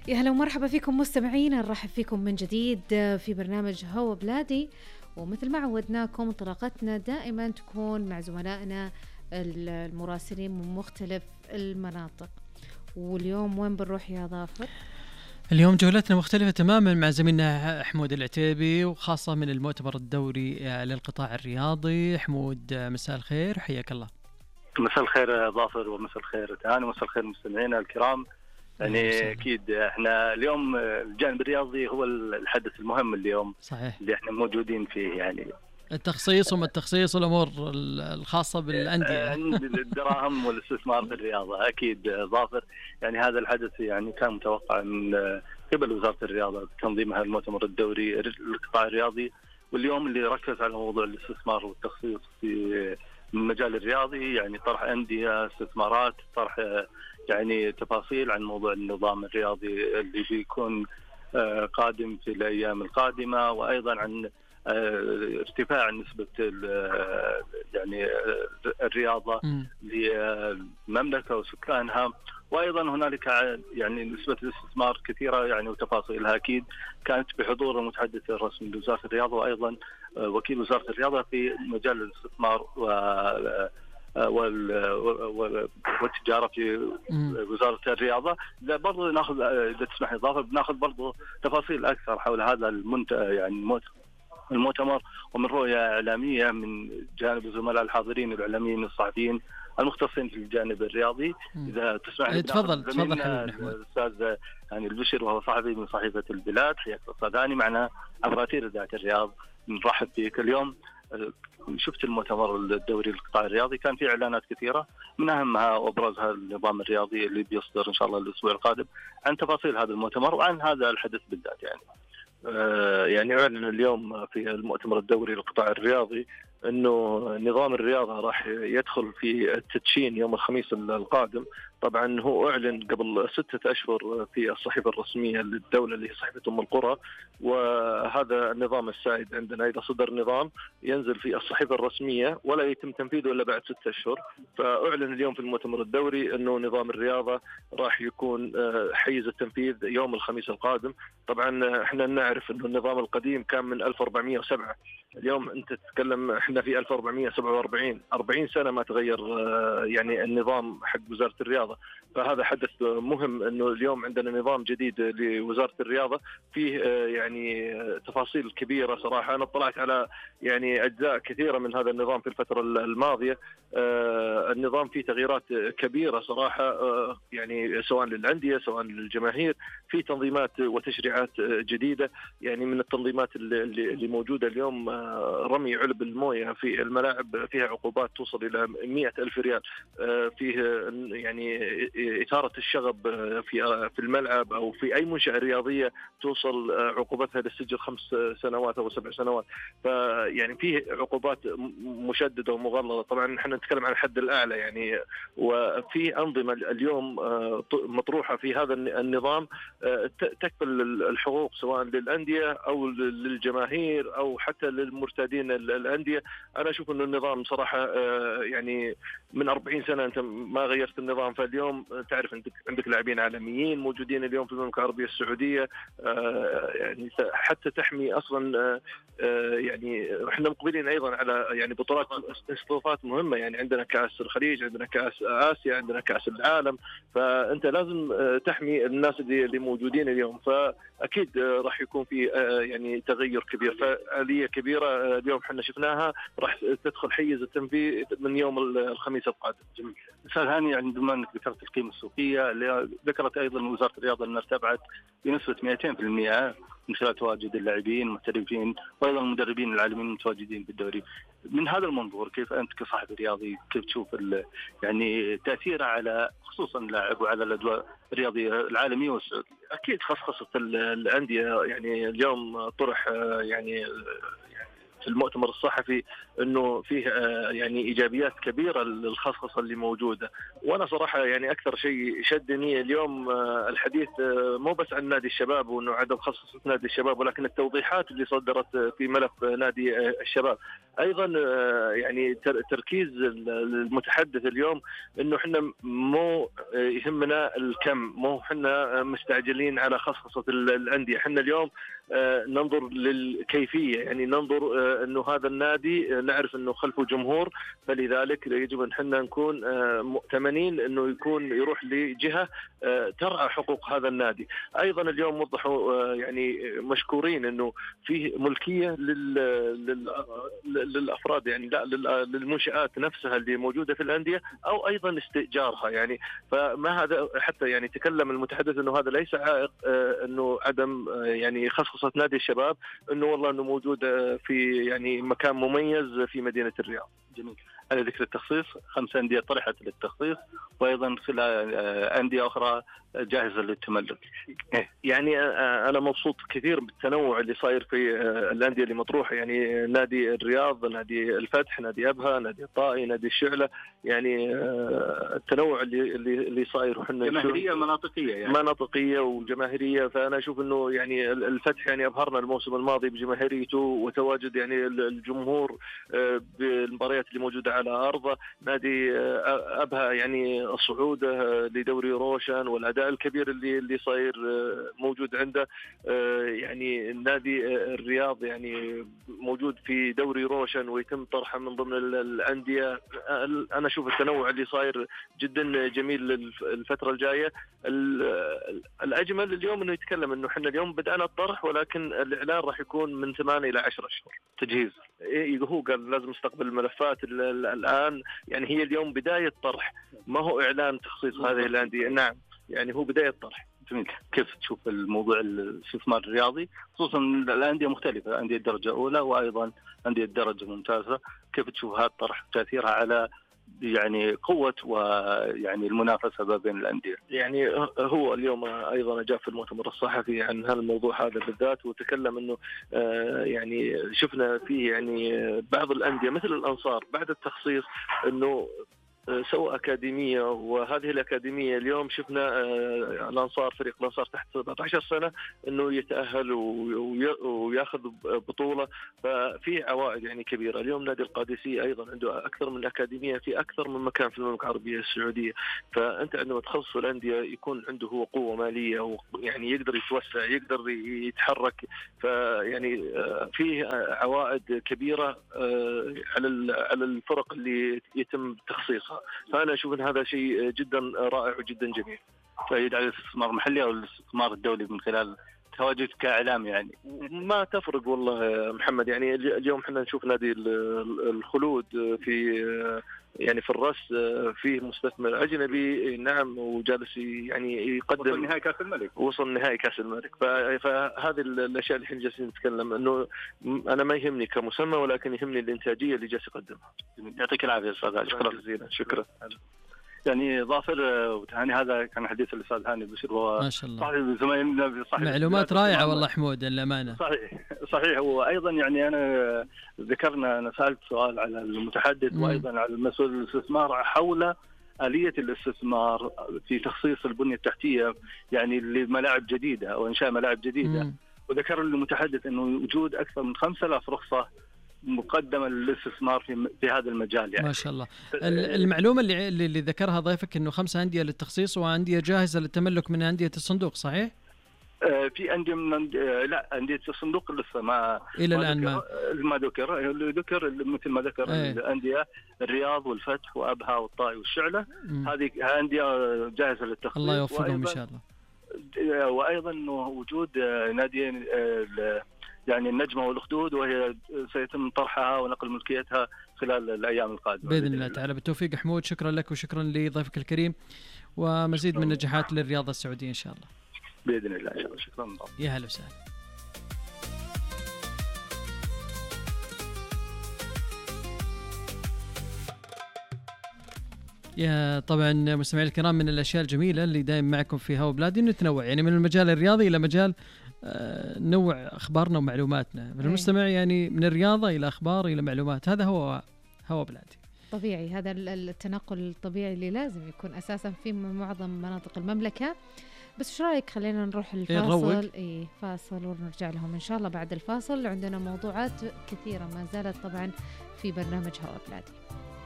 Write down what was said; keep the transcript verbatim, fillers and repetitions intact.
يا هلا ومرحبا فيكم مستمعين، نرحب فيكم من جديد في برنامج هوا بلادي. ومثل ما عودناكم انطلاقتنا دائما تكون مع زملائنا المراسلين من مختلف المناطق. واليوم وين بنروح يا ظافر؟ اليوم جولتنا مختلفة تماما مع زميلنا حمود العتيبي، وخاصة من المؤتمر الدوري للقطاع الرياضي. حمود مساء الخير، حياك الله. مساء الخير ظافر، ومساء الخير تهاني، ومساء الخير مستمعينا الكرام. يعني أكيد إحنا اليوم الجانب الرياضي هو الحدث المهم اليوم، صحيح، اللي إحنا موجودين فيه. يعني التخصيص وما التخصيص والأمور الخاصة بالأندية، الدراهم والاستثمار في الرياضة. أكيد ظافر، يعني هذا الحدث يعني كان متوقع من قبل وزارة الرياضة تنظيمها المؤتمر الدوري للقطاع الرياضي، واليوم اللي ركز على موضوع الاستثمار والتخصيص في المجال الرياضي، يعني طرح أندية، استثمارات، طرح يعني تفاصيل عن موضوع النظام الرياضي اللي بيكون قادم في الأيام القادمة، وأيضا عن ارتفاع نسبة يعني الرياضة للمملكة وسكانها. وأيضا هنالك يعني نسبة الاستثمار كثيرة يعني وتفاصيلها أكيد كانت بحضور المتحدث الرسمي لوزارة الرياضة، وأيضا وكيل وزارة الرياضة في مجال الاستثمار و والتجارة في وزارة الرياضة. إذا برضو نأخذ، إذا تسمح لي ضافر، بنأخذ برضو تفاصيل أكثر حول هذا المنت يعني المؤتمر، ومن رؤية إعلامية من جانب الزملاء الحاضرين الإعلاميين الصحفيين المختصين في الجانب الرياضي. إذا تسمح لي تفضل تفضل الأستاذ هاني البشر، وهو صحفي من صحيفة البلاد. حياك أستاذ هاني معنا عبر أثير إذاعة الرياض، نرحب فيك. اليوم شفت المؤتمر الدوري للقطاع الرياضي، كان في إعلانات كثيرة، من أهمها وأبرزها النظام الرياضي اللي بيصدر إن شاء الله الأسبوع القادم عن تفاصيل هذا المؤتمر وعن هذا الحدث بالذات. يعني آه يعني أعلن اليوم في المؤتمر الدوري للقطاع الرياضي أنه نظام الرياضة راح يدخل في التدشين يوم الخميس القادم. طبعا هو أعلن قبل ستة أشهر في الصحيفة الرسمية للدولة اللي هي صحيفة أم القرى، وهذا النظام السائد عندنا. إذا صدر نظام ينزل في الصحيفة الرسمية ولا يتم تنفيذه إلا بعد ستة أشهر. فأعلن اليوم في المؤتمر الدوري أنه نظام الرياضة راح يكون حيز التنفيذ يوم الخميس القادم. طبعا احنا نعرف أنه النظام القديم كان من ألف وأربعمائة وسبعة، اليوم أنت تتكلم احنا في ألف وأربعمائة وسبعة وأربعين، أربعين سنة ما تغير يعني النظام حق وزارة الرياضة. فهذا حدث مهم أنه اليوم عندنا نظام جديد لوزارة الرياضة فيه يعني تفاصيل كبيرة. صراحة أنا اطلعت على يعني أجزاء كثيرة من هذا النظام في الفترة الماضية. النظام فيه تغييرات كبيرة صراحة، يعني سواء للأندية سواء للجماهير، في تنظيمات وتشريعات جديدة. يعني من التنظيمات اللي موجودة اليوم رمي علب الموية في الملاعب فيها عقوبات توصل إلى مئة ألف ريال، فيه يعني إثارة الشغب في في الملعب أو في أي منشأة رياضية توصل عقوبتها للسجن خمس سنوات أو سبع سنوات. فيعني فيه عقوبات مشددة ومغلظة. طبعا نحن نتكلم عن الحد الأعلى يعني، وفي أنظمة اليوم مطروحة في هذا النظام تكفل الحقوق سواء للأندية أو للجماهير أو حتى للمرتادين الأندية. أنا أشوف أن النظام صراحة يعني من أربعين سنة أنت ما غيرت النظام، فاليوم تعرف عندك عندك لاعبين عالميين موجودين اليوم في المملكة العربية السعودية، يعني حتى تحمي أصلا يعني احنا مقبلين أيضا على يعني بطولات استضافات مهمة. يعني عندنا كأس الخليج، عندنا كأس آسيا، عندنا كأس العالم، فأنت لازم تحمي الناس اللي اللي موجودين اليوم. فأكيد راح يكون في يعني تغير كبير، فآلية كبيرة اليوم احنا شفناها راح تدخل حيز التنفيذ من يوم الخميس القادم. جميل. أستاذ هاني، عندما أنك ذكرت القيمة السوقية اللي ذكرت أيضا وزارة الرياضة أنها ارتفعت بنسبة مئتين بالمئة من خلال تواجد اللاعبين المحترفين وأيضا المدربين العالميين المتواجدين في الدوري. من هذا المنظور كيف أنت كصاحب رياضي كيف تشوف يعني تأثيره على خصوصا اللاعب وعلى الأدوار الرياضية العالمية والسعودية؟ أكيد خصخصة الأندية يعني اليوم طرح يعني في المؤتمر الصحفي انه فيه يعني ايجابيات كبيره للخصخصه اللي موجوده. وانا صراحه يعني اكثر شيء شدني اليوم الحديث مو بس عن نادي الشباب وانه عدم خصخصه نادي الشباب، ولكن التوضيحات اللي صدرت في ملف نادي الشباب. ايضا يعني تركيز المتحدث اليوم انه احنا مو يهمنا الكم، مو احنا مستعجلين على خصخصه الانديه، احنا اليوم ننظر للكيفيه، يعني ننظر انه هذا النادي نعرف انه خلفه جمهور، فلذلك يجب ان احنا نكون مؤتمنين انه يكون يروح لجهه ترعى حقوق هذا النادي. ايضا اليوم وضحوا يعني مشكورين انه فيه ملكيه لل... لل... للافراد، يعني لا للمنشآت نفسها اللي موجوده في الانديه او ايضا استئجارها، يعني فما هذا حتى يعني تكلم المتحدث انه هذا ليس عائق انه عدم يعني خصخصه نادي الشباب، انه والله انه موجود في يعني مكان مميز في مدينه الرياض. جميل. على ذكر التخصيص، خمس أندية طرحت للتخصيص وأيضا خلال أندية أخرى جاهزة للتملك. يعني أنا مبسوط كثير بالتنوع اللي صاير في الأندية اللي مطروحة، يعني نادي الرياض، نادي الفتح، نادي أبها، نادي الطائي، نادي الشعلة، يعني التنوع اللي اللي اللي صاير، وحنا جماهيرية مناطقية يعني مناطقية وجماهيرية. فأنا أشوف إنه يعني الفتح يعني أبهرنا الموسم الماضي بجماهيريته وتواجد يعني الجمهور بالمباريات اللي موجودة على أرضه. نادي أبها يعني الصعود لدوري روشن والأداء الكبير اللي اللي صاير موجود عنده. يعني نادي الرياض يعني موجود في دوري روشن ويتم طرحه من ضمن الأندية. أنا أشوف التنوع اللي صاير جدا جميل الفترة الجاية. الأجمل اليوم إنه يتكلم إنه إحنا اليوم بدأنا الطرح، ولكن الإعلان راح يكون من ثمانية إلى عشرة أشهر تجهيز. هو قال لازم نستقبل الملفات الآن، يعني هي اليوم بداية طرح، ما هو إعلان تخصيص هذه الأندية. نعم، يعني هو بداية طرح. جميل. كيف تشوف الموضوع الاستثمار الرياضي، خصوصا الأندية مختلفة، أندية درجة أولى وأيضا أندية درجة ممتازة، كيف تشوف هذا الطرح تأثيرها على يعني قوة ويعني المنافسة ما بين الأندية؟ يعني هو اليوم أيضا جاء في المؤتمر الصحفي عن هذا الموضوع هذا بالذات، وتكلم إنه يعني شفنا فيه يعني بعض الأندية مثل الأنصار بعد التخصيص إنه سووا أكاديمية، وهذه الأكاديمية اليوم شفنا الأنصار، فريق الأنصار تحت سبعة عشر سنة إنه يتأهل ويأخذ بطولة، ففي عوائد يعني كبيرة. اليوم نادي القادسية أيضا عنده أكثر من أكاديمية في أكثر من مكان في المملكة العربية السعودية. فأنت عندما تخصص الأندية يكون عنده هو قوة مالية، ويعني يقدر يتوسع، يقدر يتحرك، فيعني فيه عوائد كبيرة على على الفرق اللي يتم تخصيصها. فأنا أشوف أن هذا شيء جدا رائع وجدا جميل. فايد على الاستثمار المحلي أو الاستثمار الدولي من خلال تواجد كإعلام؟ يعني ما تفرق والله محمد. يعني اليوم احنا نشوف نادي الخلود في يعني في الرأس فيه مستثمر أجنبي، نعم، وجالس يعني يقدم وصل نهائي كأس الملك وصل نهائي كأس الملك. فهذه الأشياء اللي احنا جالسين نتكلم إنه أنا ما يهمني كمسمى، ولكن يهمني الإنتاجية اللي جالس يقدمها. يعطيك العافية أستاذ. شكرا جزيلا. شكرا. يعني ظافر وتهاني، هذا كان حديث الأستاذ هاني البشير، وهو ما شاء الله صحيح زميلنا صحيح معلومات رائعة والله حمود للأمانة. صحيح صحيح. وأيضا يعني أنا ذكرنا، أنا سألت سؤال على المتحدث م. وأيضا على المسؤول الاستثمار حول آلية الاستثمار في تخصيص البنية التحتية يعني لملاعب جديدة أو إنشاء ملاعب جديدة م. وذكر المتحدث أنه وجود أكثر من خمسة آلاف رخصة مقدمة للاستثمار في في هذا المجال. يعني ما شاء الله. المعلومة اللي اللي ذكرها ضيفك إنه خمسة أندية للتخصيص وأندية جاهزة للتملك من أندية الصندوق، صحيح؟ في أندية من لا أندية الصندوق لسه ما إلى الآن ما ما ذكر ذكر مثل ما ذكر ايه. الأندية الرياض والفتح وأبها والطائي والشعلة، هذه أندية جاهزة للتخصيص. الله يوفقهم إن شاء الله. وأيضا إنه وجود ناديين يعني النجمة والأخدود، وهي سيتم طرحها ونقل ملكيتها خلال الأيام القادمة بإذن الله تعالى. بالتوفيق حمود، شكرا لك وشكرا لضيفك الكريم، ومزيد من النجاحات للرياضة السعودية إن شاء الله. بإذن الله إن شاء الله. شكرا. يا هلا وسهلا. يا طبعا مستمعي الكرام، من الأشياء الجميلة اللي دائما معكم في هوا بلادي نتنوع، يعني من المجال الرياضي إلى مجال آه نوع أخبارنا ومعلوماتنا المستمع، يعني من الرياضة إلى أخبار إلى معلومات. هذا هو هو بلادي. طبيعي، هذا التنقل الطبيعي اللي لازم يكون أساسا في معظم مناطق المملكة. بس ايش رايك خلينا نروح الفاصل؟ اي فاصل ونرجع لهم ان شاء الله بعد الفاصل. عندنا موضوعات كثيرة ما زالت طبعا في برنامج هوا بلادي.